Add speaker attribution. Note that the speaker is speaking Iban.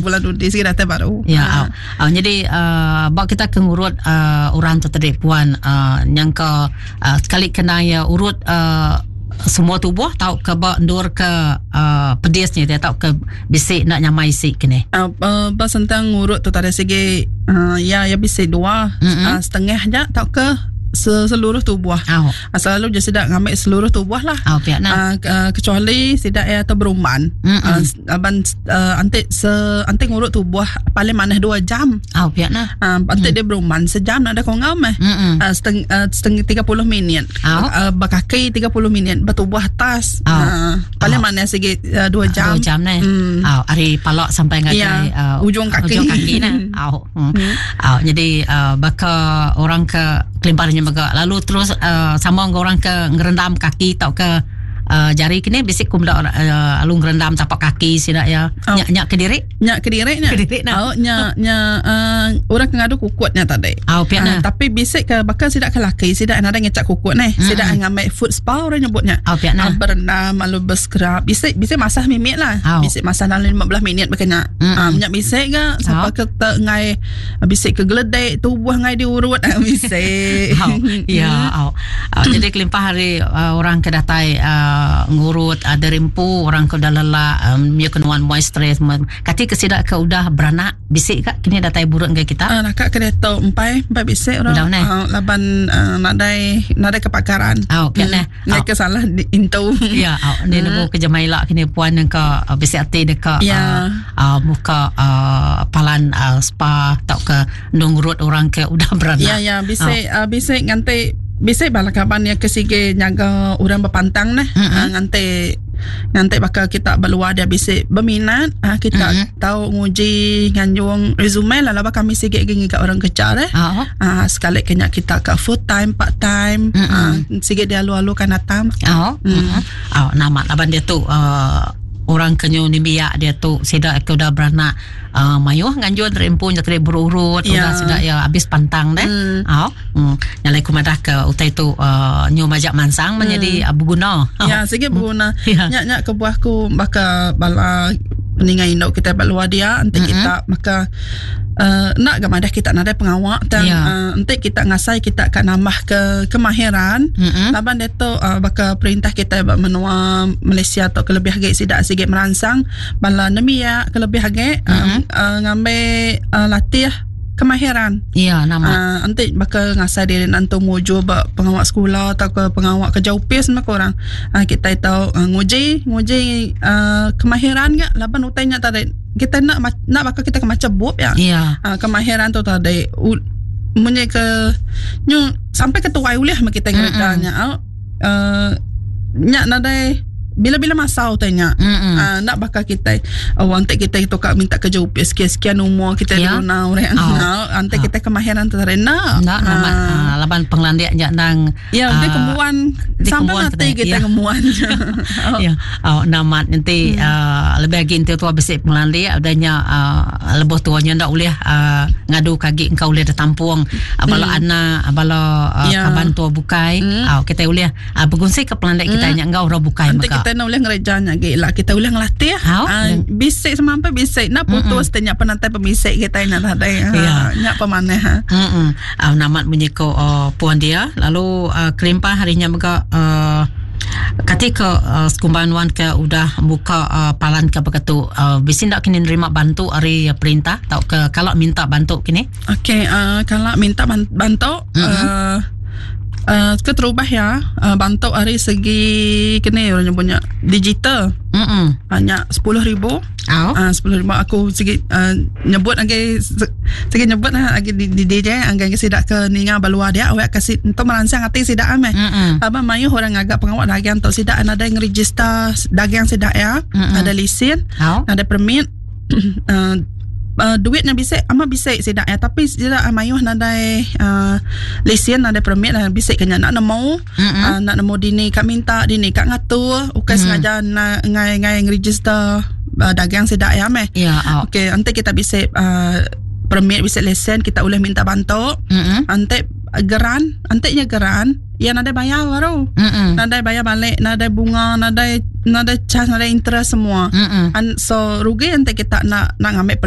Speaker 1: bulan dudi sigi datai baru.
Speaker 2: Ya, au. Au jadi uh, ba kita ke ngurut uh, orang tu tadi puan uh, nyangka uh, sekali kena ya urut uh, semua tubuh tau ke ba endur ke uh, pedis ni dia tau ke bisi nak nyamai isi kini.
Speaker 1: Uh, uh, ba sentang ngurut tu tadi sigi uh, ya ya bisi dua mm -hmm. uh, setengah ja tau ke seluruh tubuh.
Speaker 2: Oh.
Speaker 1: Uh, selalu je sidak ngambil seluruh tubuh lah.
Speaker 2: Oh, pihak nah.
Speaker 1: Uh, uh, kecuali sidak ya atau berumban. Mm -hmm. uh, aban uh, antik se antik ngurut tubuh paling mana 2 jam.
Speaker 2: Oh, pihak nah.
Speaker 1: Uh, antik mm. dia berumban sejam nak ada kongau meh. Mm -hmm. uh, seteng, uh, setengah 30 minit.
Speaker 2: Oh.
Speaker 1: Uh, berkaki 30 minit bertubuh atas.
Speaker 2: Oh.
Speaker 1: Uh, paling
Speaker 2: oh.
Speaker 1: mana segi 2 jam.
Speaker 2: 2 jam nah.
Speaker 1: Mm.
Speaker 2: Oh, ari palak sampai ngagai
Speaker 1: ya,
Speaker 2: uh,
Speaker 1: ujung kaki.
Speaker 2: Ujung kaki nah. Oh. Hmm. Hmm. Oh, jadi uh, baka orang ke kelimpahannya mega lalu terus uh, sama dengan orang ke ngerendam kaki tau ke uh, jari kini bisik ku meda uh, lalu ngerendam tapak kaki sida ya.
Speaker 1: Oh.
Speaker 2: Nyak nyak kediri.
Speaker 1: Nyak kediri nya.
Speaker 2: Kediri nah.
Speaker 1: Oh, nya nya uh, orang ke ngadu kukut nya tadi.
Speaker 2: Oh, pia
Speaker 1: uh, tapi bisik ke bakal sida ke laki sida nadai ngecak kukut neh. Mm-hmm. Sida ngambil foot spa orang nyebutnya.
Speaker 2: Oh, pia nah.
Speaker 1: Uh, berendam lalu berscrub. Bisik bisik masah mimit lah.
Speaker 2: Oh.
Speaker 1: Bisik masah dalam 15 minit berkena.
Speaker 2: Mm-hmm.
Speaker 1: Uh, minyak bisik ke siapa
Speaker 2: Oh.
Speaker 1: ke te ngai bisik ke geledek tubuh ngai diurut bisik.
Speaker 2: Oh, ya, oh. Uh, jadi kelimpah hari uh, orang ke datai uh, ngurut uh, dari empu orang ke udah lelak um, ya kenuan muai stres kati ke sida ke udah beranak bisik ka kini datai buruk ngai kita.
Speaker 1: Uh, nakak ke diatu empai empai bisik orang
Speaker 2: Udah neh.
Speaker 1: uh, laban uh, nadai nadai kepakaran.
Speaker 2: Oh, pia neh.
Speaker 1: Ngai
Speaker 2: Oh.
Speaker 1: ke salah di, intu.
Speaker 2: Ya, oh, ni nemu ke jemaila kini puan yang ke uh, bisik ati deka
Speaker 1: Ya.
Speaker 2: uh, uh, muka uh, palan uh, spa tau ke nungurut orang ke udah beranak.
Speaker 1: Ya ya bisik oh. uh, bisik nganti bisik bala kaban yang ke sige nyaga orang berpantang nah.
Speaker 2: Mm-mm.
Speaker 1: Uh, nganti nganti bakal kita berluar dia bisik berminat uh, kita
Speaker 2: Mm-mm.
Speaker 1: tahu nguji nganjung resume lah laba kami sige gi ngiga orang kerja eh.
Speaker 2: Oh.
Speaker 1: Ah sekali kena kita ke full time part time
Speaker 2: Mm-mm.
Speaker 1: ah sige dia alu-alu kan datang.
Speaker 2: Oh. Mm. Oh, nama laban dia tu uh, orang kenyu ni biak dia tu sida ke udah beranak uh, mayuh nganjun rempu nya tadi berurut
Speaker 1: Ya.
Speaker 2: udah sida ya habis pantang deh.
Speaker 1: Mm.
Speaker 2: Oh. Mm. Nyalai ku madah ke utai tu uh, nyu majak mansang menjadi uh, berguna. Oh.
Speaker 1: Ya, sige berguna.
Speaker 2: Ya.
Speaker 1: Nyak nyak kebuah ku baka bala peningai induk kita luar dia nanti
Speaker 2: Mm-mm.
Speaker 1: kita maka uh, nak ga madah kita nadai pengawak dan
Speaker 2: Ya.
Speaker 1: uh, nanti kita ngasai kita akan nambah ke kemahiran
Speaker 2: Mm-mm.
Speaker 1: Laban dia tu uh, baka perintah kita ba menua Malaysia atau kelebih agi sidak sikit merangsang bala nembiak kelebih agi uh,
Speaker 2: Mm-mm.
Speaker 1: uh, ngambil uh, latih kemahiran.
Speaker 2: Ya, nama.
Speaker 1: Uh, nanti bakal ngasai diri nanti muju ba pengawak sekolah atau ke pengawak kerja upis semua orang. Uh, kita tahu uh, nguji nguji uh, kemahiran gak laban utainya tadi kita nak nak bakal kita ke macam bub ya.
Speaker 2: Ya.
Speaker 1: Uh, kemahiran tu tadi u, munyi ke nyu sampai ke tuai ulih mah kita ngerjanya. Uh, nyak nadai bila-bila masa utainya.
Speaker 2: Mm-mm.
Speaker 1: Ah, nak bakal kita oh, nanti kita itu kak minta kerja upis sekian-sekian umur kita
Speaker 2: Ya.
Speaker 1: yeah. guna orang.
Speaker 2: Oh.
Speaker 1: Oh. Nanti
Speaker 2: Oh.
Speaker 1: kita kemahiran tu nak.
Speaker 2: Nak nama uh, laban penglandik nya nang
Speaker 1: Ya, dia
Speaker 2: ah,
Speaker 1: kemuan
Speaker 2: dia
Speaker 1: sampai
Speaker 2: kemuan
Speaker 1: mati
Speaker 2: kita,
Speaker 1: kita
Speaker 2: ya.
Speaker 1: kemuan. oh.
Speaker 2: Ya, oh, namat nanti uh, lebih lagi nanti tua besik pengelandik adanya uh, lebih tuanya ndak boleh uh, ngadu kagi engkau boleh ditampung uh, bala anak bala uh,
Speaker 1: Ya.
Speaker 2: kaban tua bukai uh, kita boleh uh, berkongsi ke pengelandik kita nya engkau orang bukai
Speaker 1: Nanti
Speaker 2: maka.
Speaker 1: kita nak boleh ngerjanya lagi lah. Kita boleh ngelatih.
Speaker 2: Hau.
Speaker 1: Ah, bisik semampai bisik. Nak putus mm tanya penantai pemisik kita nak ada.
Speaker 2: Ya.
Speaker 1: Nyak pemanah. Ha.
Speaker 2: Hmm. Uh, namat menyiko uh, puan dia lalu uh, kelimpah harinya mega uh, ketika uh, sekumban wan ke udah buka uh, palan ke begitu uh, bisi ndak kini nerima bantu hari perintah tau ke kalau minta bantu kini
Speaker 1: Okey, uh, kalau minta bantu uh, uh, ke terubah ya, uh, bantu hari segi kini orang punya digital.
Speaker 2: Mm.
Speaker 1: Banyak 10,000.
Speaker 2: Au.
Speaker 1: Ah, 10,000 aku segi uh, nyebut lagi segi nyebut lah lagi di, di DJ anggai ke sidak ke ninga balua dia awak kasi untuk merangsang hati sidak ame.
Speaker 2: Mm.
Speaker 1: Abang mayu orang agak pengawak dagang atau sidak ada yang register dagang sidak ya,
Speaker 2: Mm-mm.
Speaker 1: ada lesen,
Speaker 2: Au.
Speaker 1: ada permit. uh, uh, duitnya bisik ama bisik sidak ya tapi sidak mayuh nadai uh, lesen nadai permit lah bisik kena nak nemu
Speaker 2: Mm-mm.
Speaker 1: uh, nak nemu dini kak minta dini kak ngatur ukai sengaja na, ngai ngai ngeregister uh, dagang sidak ya meh
Speaker 2: Ya, au.
Speaker 1: Okey, nanti kita bisa uh, permit bisa lesen kita boleh minta bantu.
Speaker 2: Mm.
Speaker 1: Nanti geran, nantinya geran, ya nadai bayar baru.
Speaker 2: Mm.
Speaker 1: Nadai bayar balik, nadai bunga, nadai nadai charge, nadai interest semua.
Speaker 2: Mm.
Speaker 1: And so rugi nanti kita nak nak ngambil